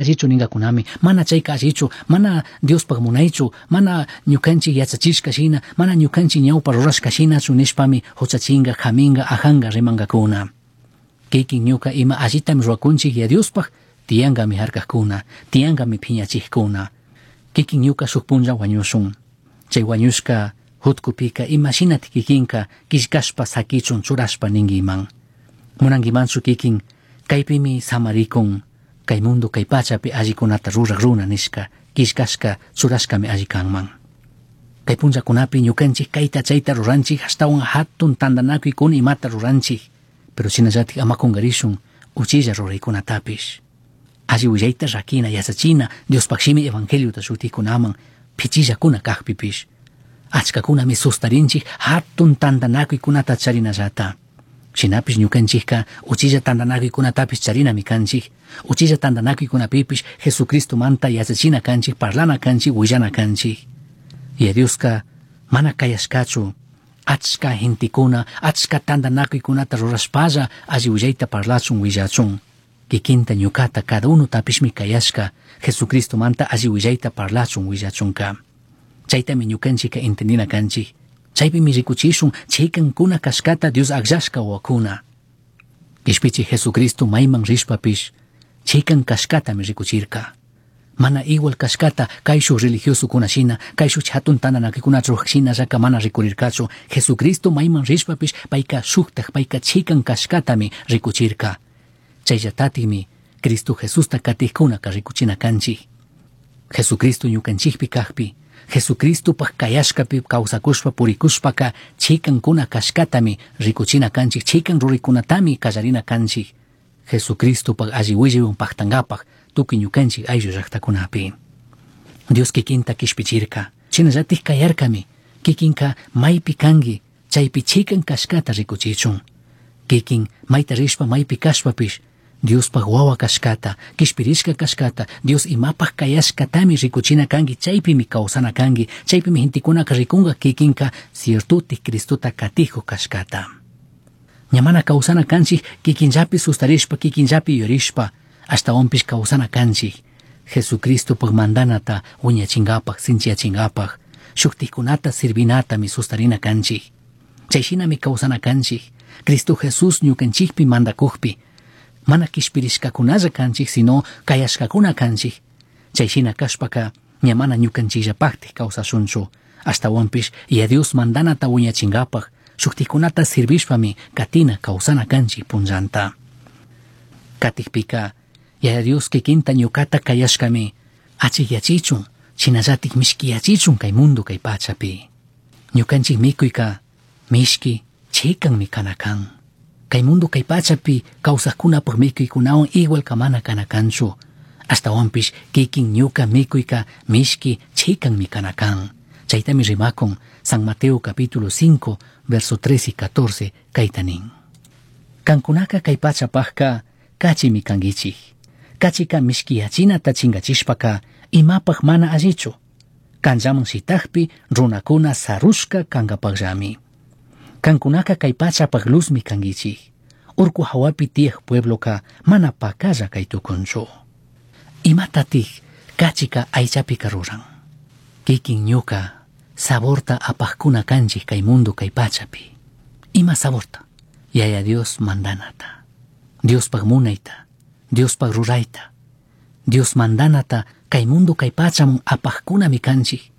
Allichu ningacunami, mana chayka allichu, mana Diospaj munaychu, mana ñukanchik yachachishka shina, mana ñukanchik ñawpa rurashka shinachu nishpami huchachinga, haminga, ajanga rimangakuna. Kikin ñuka ima allitami rurakunchik ya Diospaj, tiyankami harkakuna, tiyankami phiñachikuna. Kikin ñuka shuk punlla wañushun. Chay wañushka hutkupika ima shinatik kikinka killkashpa sakichun churashpa ninkiman. Munankimanchu kikin kaypimi samarikun, kay mundo kay pachapi allikunata ruraq runa nishka, killkashka churashkami alli kanman. Kay punllakunapi ñukanchik kayta chayta ruranchik, ashtawan hatun tantanakuykuna imata ruranchik, pero shinallatik ama kunkarishun uchilla ruraykunatapish. Alli willayta rakina yachachina Diospaj shimi evangeliota shutikunaman pichillakuna kajpipish. Achkakunami sustarinchik hatun tantanakuykunata charinallata. Shinapish ñukanchikka uchilla tantanakuykunatapish charinami kanchik. Uchilla tantanakuykunapipish Jesucristomanta yachachina kanchik, parlana kanchik, willana kanchik. Y Dioska mana kayashkachu achka gentekuna, achka tantanakuykunata rurashpalla alli willayta parlachun willachun. Kikinta ñukata cada uno tapishmi kayashka Jesucristomanta alli willayta parlachun willachunka. Chaytami ñukanchika entendina kanchik. Chaypimi rikuchishun chikankuna kashkata Dios akllashka wawakuna. Kishpichi Jesucristo mayman rishpapish chikan kashkatami rikuchirka. Mana igual kashkata kayshuq religiosokuna shina, kayshuq hatun tantanakuykunata ruraq shinallaka mana rikurirkachu. Jesucristo mayman rishpapish payka shuktak, payka chikan kashkatami rikuchirka. Chayllatatimi Cristo Jesusta katikkunaka rikuchina kanchik. Jesucristo ñukanchikpi kajpi, Jesucristopaj kayashkapi kawsakushpa purikushpaka chikankuna kashkatami rikuchina kanchik, chikan ruraykunatami kallarina kanchik. Jesucristopaj alli willaywan paktankapaj tukuy ñukanchik ayllu llaktakunapi. Dios kikinta kishpichirka, shinallatik kayarkami, kikinka maypi kanki, chaypi chikan kashkata rikuchichun. Kikin mayta rishpa maypi kashpapish, Diospaj wawa kashkata, kishpirishka kashkata, Dios imapaj kayashkatami rikuchina kanki, chaypimi kawsana kanki, chaypimi gentekunaka rikunka kikinka ciertotik Cristota katijo kashkata. Ña mana kawsana kanchik kikinllapi sustarishpa, kikinllapi yurishpa, ashtawanpish kawsana kanchik. Jesucristopaj mandanata wiñachinkapaj, sinchiyachinkapak, shuktikkunata sirvinatami sustarina kanchik. Chay shinami kawsana kanchik. Cristo Jesús ñukanchikpi mandakukpi, mana kishpirishkakunalla kanchik, sino kayashkakuna kanchik. Chay shina kashpaka ña mana ñukanchikllapaktik kawsashunchu. Ashtawanpish ya Dios mandanata wiñachinkapaj, shuktikkunata sirvishpami katina kawsana kanchik punllanta. Katikpika, Yaya Dios kikinta ñukata kayashkami achikyachichun, shinallatik mishkiyachichun kay mundo kay pachapi. Ñukanchik mikuyka mishki chikanmi kana kan. Kay mundo kay pachapi kawsaqkunapaj mikuykunawan igual kamana kana kanchu. Ashtawanpish kikin ñuka mikuyka mishki chikanmi kana kan. Chaytami rimakun San Mateo capítulo 5, verso 13 y 14, kayta nin. Kankunaka kay pachapajka kachimi kankichik. Kachika mishkiyachinata chinkachishpaka imapaj mana allichu. Kanllaman shitakpi runakuna sarushka kankapakllami. Kankunaka kay pachapaj luzmi kankichik. Urku hawapi tiyaj puebloka mana pakalla kay tukunchu. Imatatik kachika aychapika ruran. Kikin ñuka saborta apajkuna kanchik kay mundo kay pachapi. Ima saborta? Yaya Dios mandanata. Diospaj munayta, Diospaj rurayta. Dios mandanata kay mundo kay pachamun apajkunami kanchik.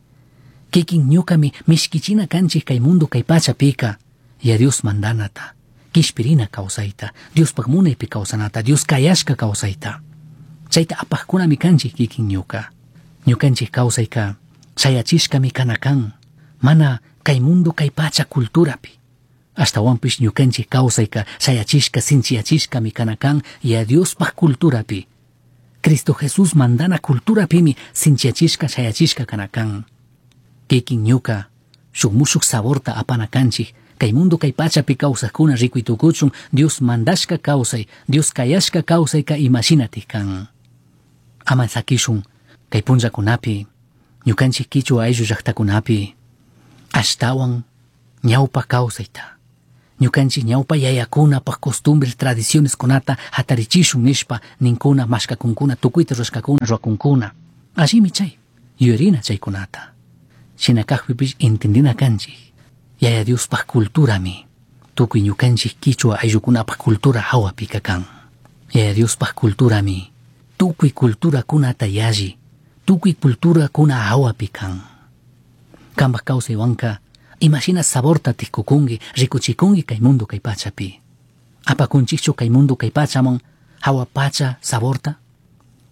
Kikin ñukami mishkichina kanchik kay mundo kay pachapika. Ya Dios mandanata, kishpirina kawsayta, Diospaj munaypi kawsanata, Dios kayashka kawsayta. Chayta apajkunami kanchik kikin ñuka. Ñukanchik kawsayka shayachishkami kana kan, mana kay mundo kay pacha culturapi. Ashtawanpish ñukanchik kawsayka shayachishka sinchiyachishkami kana kan ya Diospaj culturapi. Cristo Jesús mandana culturapimi sinchiyachishka shayachishka kana kan. Kikin ñuka shuk mushuk saborta apana kanchik, kay mundo kay pachapi kawsaqkuna rikuytukuchun Dios mandashka kawsay, Dios kayashka kawsayka imashinatik kan. Ama sakishun kay punllakunapi, ñukanchik kichwa ayllu llaqtakunapi, ashtawan ñawpa kawsayta, Ñukanchik ñawpa yayakunapaj costumbres, tradiciones kunata hatarichishun nishpa ninkuna, mashkakunkuna, tukuyta rurashkakuna, rurakunkuna. Allimi chay, yuyarina chaykunata. Shina kajpipish entendina kanchik. Yaya Diospaj culturami tukuy ñukanchik kichwa ayllukunapaj cultura hawapika kan. Yaya Diospaj culturami tukuy culturakunata yalli, tukuy culturakuna hawapi kan. Kambaj kawsaywanka imashina saborta tikukunki, rikuchikunki kay mundo kay pachapi. Apakunchikchu kay mundo kay pachaman hawa pacha saborta?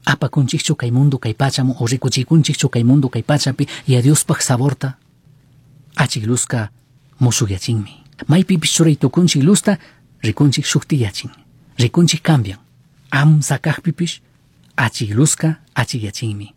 Apakunchikchu kay mundo kay pachaman o rikuchikunchikchu kay mundo kay pachapi Yaya Diospaj saborta? Achik luzka mushukyachinmi. Maypipish churay tukunchik luzta rikunchik shuktiyachin. Rikunchik cambian. Amsa kajpipish achik luzka achikyachinmi.